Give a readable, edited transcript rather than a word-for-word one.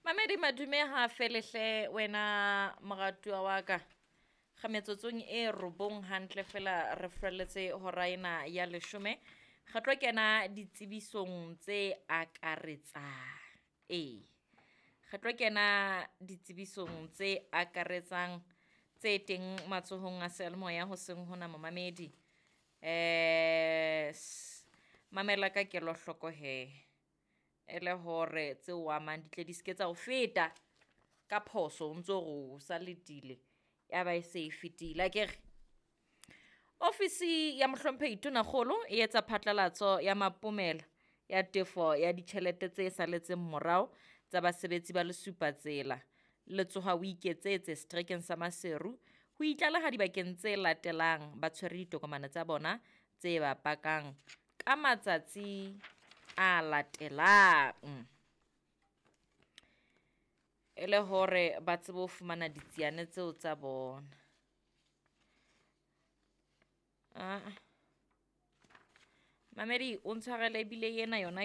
Mamedi madume ha felehle wena moratuwa wa ka. Ga metsotsong e robong hantle fela re felletse hora ena ya leshome. Re tlo kena ditsebisong tse akaretsang. Ee, re tlo kena ditsebisong tse akaretsang tse teng matsohong a seyalemoya hoseng hona momamedi. Mamela ka kelohloko hee, e le hore tseo amang di tle di seke tsa ho feta ka phoso o ntso re o sa letile ya ba e se e fetile akere. Ofisi ya Mohlomphehi Tonakgolo e etsa phatlalatso ya mapomela ya tefo ya ditjhelete tse salletseng morao tsa basebetsi ba Lesupatsela le tsoha o iketsetse seterekeng sa Maseru. Ho itlaleha dibakeng tse latelang ba tshwere ditokomane tsa bona tse ba pakang ka matsatsi a latelang. E le hore ba tsebe ho fumana ditsiane tseo tsa bona. Aa, mamedi o ntshwarele ebile ena yona.